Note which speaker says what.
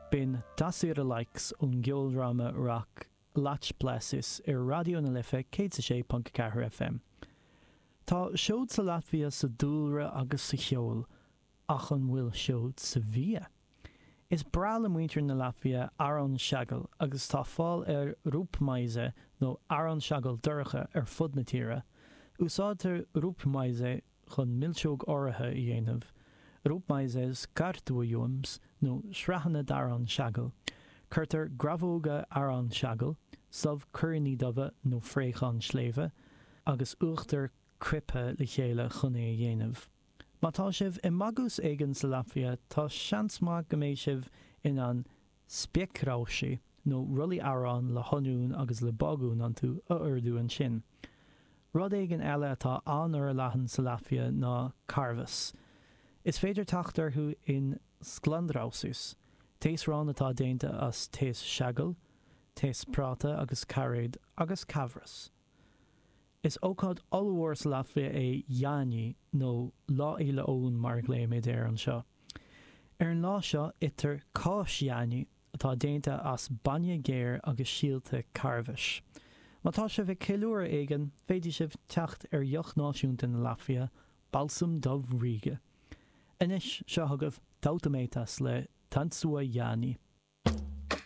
Speaker 1: B'in Tas ir laiks ón gceoldráma rac Lāčplēsis ar Raidió na Life 106.4 FM. Tá seod sa Laitvia sa dúlra agus sa cheol, ach an bhfuil seod sa bhia? Is breá le muintir na Laitvia arán seagail agus tá fáil ar rupjmaize nó arán seagail dorcha ar fud na tíre. Úsáidtear rupjmaize chun milseog áirithe a dhéanamh, rupjmaizes kārtojums nó sraitheanna d'arán seagail. Cuirtear grabhóga arán seagail, subh cuiríní dubha nó fraochán sléibhe, agus uachtar coipthe le chéile chun é a dhéanamh. Má tá sibh i mbagús éigin sa Laitvia, tá seans maith go mbeidh sibh in ann spiekrauši, nó rollaí aráin le hoinniún agus le bágún iontu, a ordú ansin. Rud éigin eile atá an-fhorleathan sa Laitvia ná carbhas. Is féidir teacht orthu in sklandrausis, taosrán atá déanta as taos seagail, taos práta agus cairéad, agus cabhras. Is ócáid ollmhór sa Laitvia é Jāņi, nó Lá Fhéile Eoin mar a ghlaoimid air anseo. Ar an lá seo itear cáis Jāņi, atá déanta as bainne géar agus síolta carbhais. Má tá sibh ag ceiliúradh éigin, féadfaidh sibh teacht ar dheoch náisiúnta na Laitvia, Balsam Dubh Ríge. Anois, seo chugaibh Tautumeitas le Tanco Jāņi.